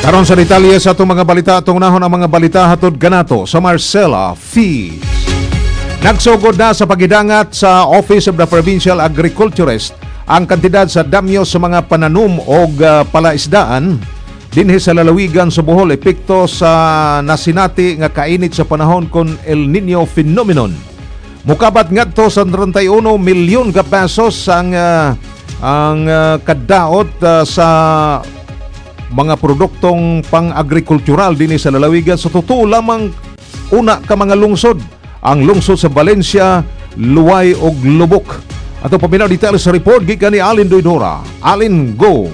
Karon sa detalye sa atong mga balita, atong unahon ang mga balita hatod kanato sa Marcela Feeds. Nagsugod na sa pagidangat sa Office of the Provincial Agriculturist ang kantidad sa damyo sa mga pananom og palaisdaan dinhi sa lalawigan sa Bohol, epekto sa nasinati nga kainit sa panahon kon El Nino phenomenon. Mukabat ngadto sa 31 milyon ka pesos ang kadaot sa mga produktong pang-agrikultural dinhi sa lalawigan sa totoo lamang una ka mga lungsod, ang lungsod sa Valencia, Luway ug Lubok. Ato paminaw detalye sa report gikan ni Alin Doydora. Alin, go!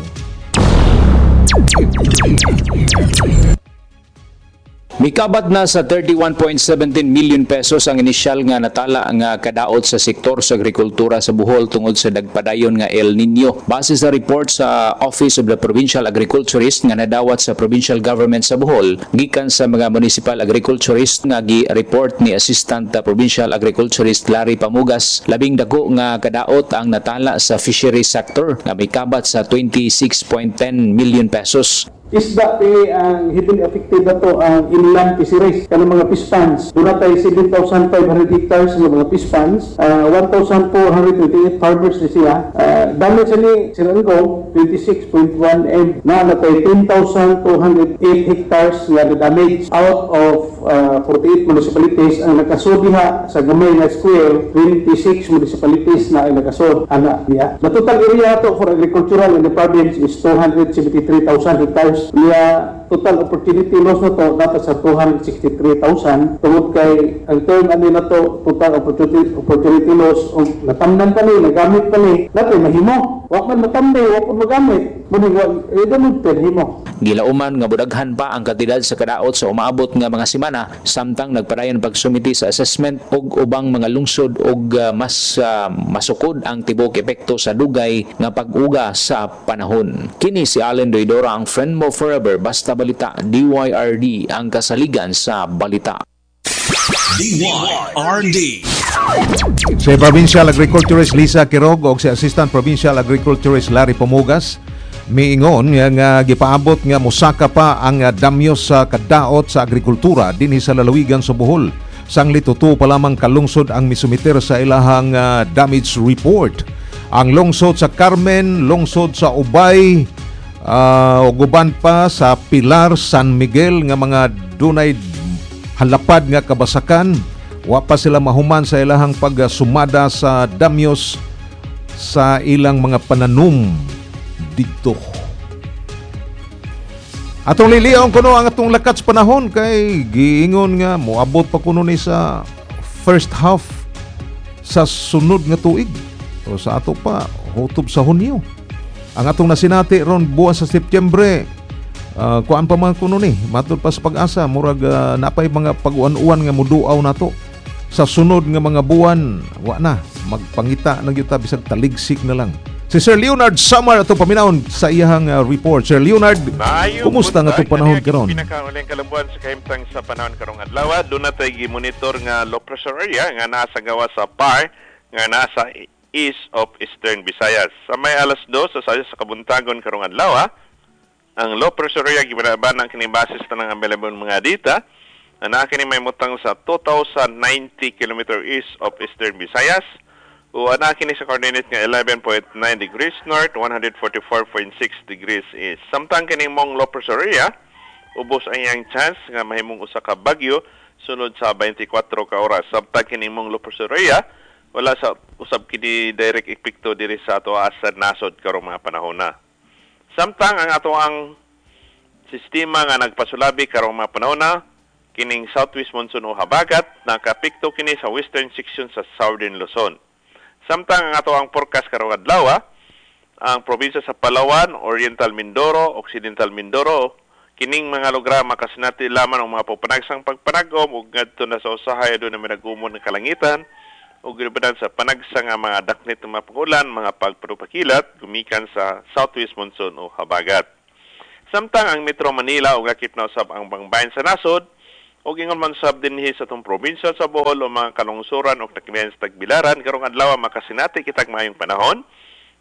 Mikabat na sa 31.17 million pesos ang inisyal nga natala nga kadaot sa sektor sa agrikultura sa Bohol tungod sa dagpadayon nga El Nino. Base sa report sa Office of the Provincial Agriculturist nga nadawat sa Provincial Government sa Bohol gikan sa mga municipal agriculturist nga gi-report ni Assistant Provincial Agriculturist Larry Pamugas, labing dako nga kadaot ang natala sa fishery sector nga mikabat sa 26.10 million pesos. Isda ti ang heavily affected na to ang inland fisheries kanang mga fish ponds. Doon tayo 7,500 hectares ng mga fish ponds, 1,428 farmers ni siya. Damage ni Sirango 26.1 M na natay 10,208 hectares nga damage out of 48 municipalities ang nakasud diha sa gamay nga square. 26 municipalities na ang nakasud ana diha. The total area to for agricultural in the province is 273,000 hectares. Niya total opportunity loss na to dapat sa 263,000 tungod kay ang term ani na to total opportunity loss, og natamnan pa ni, nagamit pa ni natin mahimo, wa man matamday, wa man magamit mo ni gamit pa himo. Gilauman nga budaghan pa ang kantidad sa kadaot sa umaabot nga mga semana samtang nagpadayon pagsumiti sa assessment og ubang mga lungsod og mas masukod ang tibuok epekto sa dugay nga pag-uga sa panahon. Kini si Allen Doydora, ang friend mo forever, basta balita, DYRD ang kasaligan sa balita. DYRD. Si Provincial Agriculturist Lisa Quirog o si Assistant Provincial Agriculturist Larry Pamugas miingon nga gipaabot nga mosaka pa ang damyo sa kadaot sa agrikultura dinhi sa lalawigan sa Bohol. Sangli tuto pa lamang kalungsod ang misumiter sa ilahang damage report. Ang lungsod sa Carmen, lungsod sa Ubay, ug uban pa sa Pilar, San Miguel nga mga dunay halapad nga kabasakan. Wa pa sila mahuman sa ilahang pagsumada sa damyos sa ilang mga pananom didto. Atong liliaon kuno ang atong lakat sa panahon kay giingon nga moabot pa kuno ni sa first half sa sunod nga tuig o sa ato pa hutob sa Hunyo. Ang atong nasinati ron buwan sa Setyembre, kuan pa man kuno ni matud pa sa Pag-asa, murag napay mga pag-uwan-uwan nga muduaw nato sa sunod nga mga buwan. Wa na magpangita na gyud ta bisag taligsik na lang. Si Sir Leonard Samar ato paminawon sa iyahang report. Sir Leonard, Maayong kumusta nga buntag. itong panahon Kaniya karon? Pinakauling kalambuan sa kahimtang sa panahon karong adlaw, doon natay gi-monitor nga low pressure area nga naa sa gawas sa PAR nga nasa east of Eastern Visayas. Sa may alas 2 sa sayo sa kabuntagon karong adlaw, ang low pressure area gibanaban ang kini basis tanang available mga data na kini may mutang sa 2090 km east of Eastern Visayas. O ana kini sa coordinate nga 11.9 degrees north, 144.6 degrees east. Samtang kining mong low pressure area, ubos ang iyang chance nga mahimong usa ka bagyo sunod sa 24 ka oras. Samtang kining mong low pressure area, wala sa usab kini direct epekto diri sa ato sa nasod karong mga panahon na. Samtang ang ato ang sistema nga nagpasulabi karong mga panahon na, kining southwest monsoon o habagat, nakapikto kini sa western section sa southern Luzon. Samtang ang ato ang forecast karong adlaw, ang probinsya sa Palawan, Oriental Mindoro, Occidental Mindoro, kining mga lugar makasinati lamang ang mga pagpanagsang pagpanagom ug ngadto na sa usahay aduna may nagumon ng kalangitan ug gibadan sa panagsa nga mga daknit ng mga pangulan, mga pagparupakilat gumikan sa southwest monsoon o habagat. Samtang ang Metro Manila ug akip na usab ang bangbayan sa nasod ug ingon man sab dinhi sa atong probinsya sa Bohol o mga kalungsuran o nakimihan sa Tagbilaran karong adlaw makasinati kitag maayong panahon.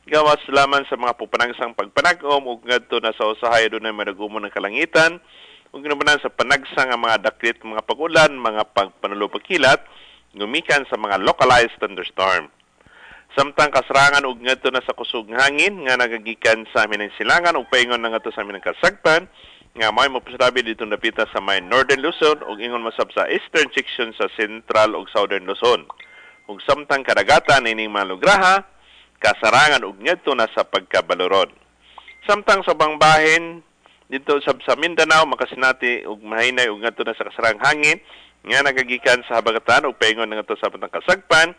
Gawas laman sa mga pupanagsang pagpanag-om ug ngadto na sa usahay dunay madagumon ng kalangitan ug ginabanan sa panagsa nga mga daklit mga pagulan, mga pagpanulupagkilat gumikan sa mga localized thunderstorm. Samtang kasarangan ug ngadto na sa kusog hangin nga nagagikan sa amin ng silangan ug paingon na ngadto sa amin ng kasagpan nga may mapasalabi dito napita sa may Northern Luzon ug ingon masab sa eastern section sa Central ug Southern Luzon. Ug samtang kadagatan ining malugraha kasarangan ug ngadto na sa pagkabaloron. Samtang sa bangbahin dito sa Mindanao makasinati ug mahinay ug ngadto na sa kasarang hangin nga nagagikan sa habagatan ug paingon na ngadto sa batang kasagpan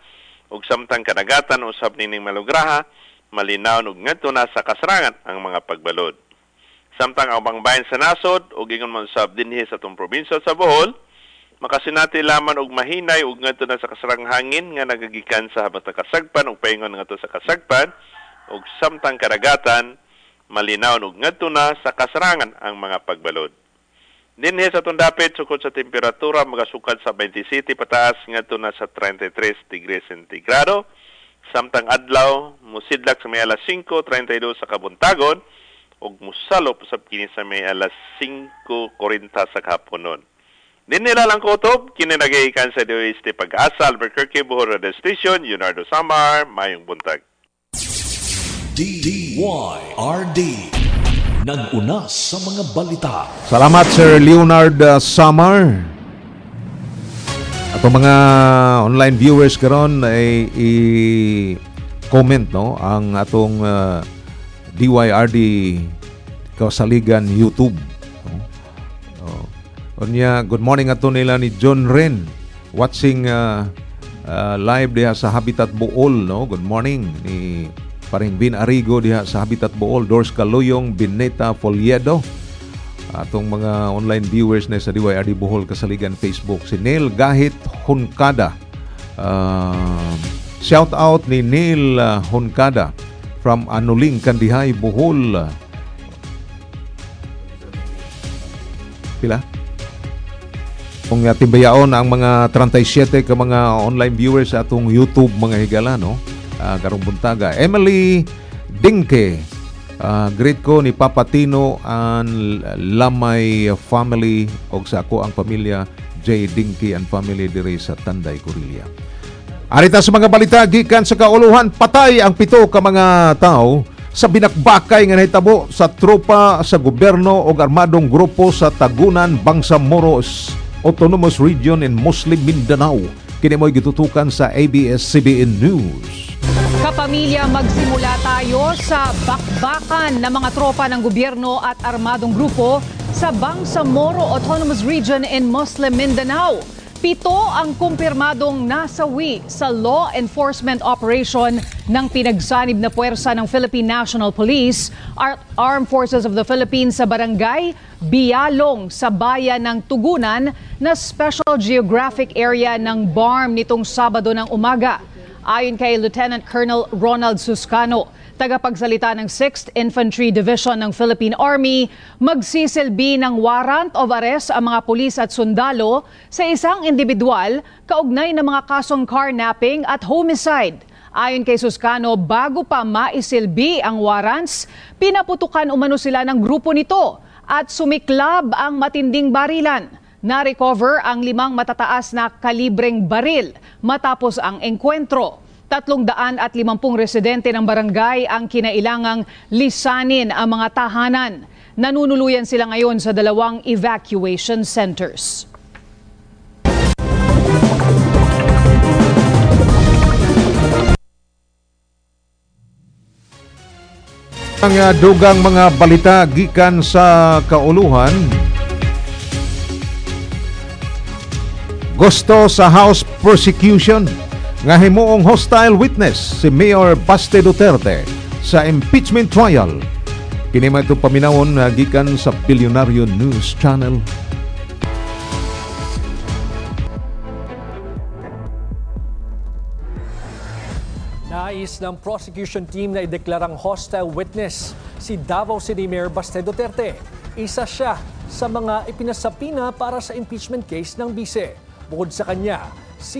ug samtang kadagatan usab nining malugraha malinaw ug ngadto na sa kasarangan ang mga pagbalod. Samtang ang bangbahin sa nasod ug ingon man usab dinhi sa atong probinsya sa Bohol makasinati laman og mahinay ug ngadto na sa kasarang hangin nga nagagikan sa habatang kasagpan ug paingon ngadto sa kasagpan ug samtang kadagatan malinaw ug ngadto na sa kasarangan ang mga pagbalod. Dinhi sa atong dapit sukod sa temperatura magasukad sa 27 pataas ngadto na sa 33 degrees sentigrado. Samtang adlaw mosidlak sa may alas 5:32 sa kabuntagon ug mosalop usab kini sa may alas 5:40 sa kahaponon. Dinhi lang kutob, kini nagagikan sa DOST Pag-asa, Albuquerque, Bohol Radio Station, Leonardo Samar, mayong buntag. DYRD, nag-una sa mga balita. Salamat Sir Leonard Samar. Atong mga online viewers karon ay i-comment no ang atong DYRD Kasaligan YouTube. Unya, good morning ato nila ni John Ren watching live diha sa Habitat Bool, no? Good morning ni Paring Bin Arigo diha sa Habitat Bool, Dors Kaluyong, Bineta Foliedo. Atong mga online viewers na sa DYRD Bohol Kasaligan Facebook, si Neil Gahit Hunkada. Shout out ni Neil Hunkada from Anuling, Kandihay, Bohol. Pila? Kung timbayaon ang mga 37 ka mga online viewers sa atong YouTube mga higala, no? Karong buntaga. Emily Dingke, greet ko ni Papa Tino and Lamay family og sa ako ang pamilya J. Dingke and family diri sa Tanday, Corillia. Arita sa mga balita gikan sa kauluhan, patay ang 7 ka mga tao sa binakbakay nga nahitabo sa tropa sa gobyerno og armadong grupo sa Tagunan, Bangsamoro Autonomous Region in Muslim Mindanao. Kini mo'y gitutukan sa ABS-CBN News. Kapamilya, magsimula tayo sa bakbakan ng mga tropa ng gobyerno at armadong grupo sa Bangsamoro Autonomous Region in Muslim Mindanao. 7 ang kumpirmadong nasawi sa law enforcement operation ng pinagsanib na puwersa ng Philippine National Police at Armed Forces of the Philippines sa barangay Bialong sa bayan ng Tugunan na Special Geographic Area ng BARM nitong Sabado ng umaga. Ayon kay Lieutenant Colonel Ronald Suscano, tagapagsalita ng 6th Infantry Division ng Philippine Army, magsisilbi ng warrant of arrest ang mga pulis at sundalo sa isang individual kaugnay ng mga kasong carnapping at homicide. Ayon kay Suscano, bago pa maisilbi ang warrants, pinaputukan umano sila ng grupo nito at sumiklab ang matinding barilan. Na-recover ang 5 matataas na kalibreng baril matapos ang engkwentro. 350 residente ng barangay ang kinailangang lisanin ang mga tahanan. Nanunuluyan sila ngayon sa 2 evacuation centers. Ang dugang mga balita gikan sa kauluhan. Gusto sa House Prosecution nga himuong hostile witness si Mayor Baste Duterte sa impeachment trial. Kini man itong paminawon na gikan sa Bilyonaryo News Channel. Nais ng prosecution team na ideklarang hostile witness si Davao City Mayor Baste Duterte. Isa siya sa mga ipinasapina para sa impeachment case ng bise. Bukod sa kanya,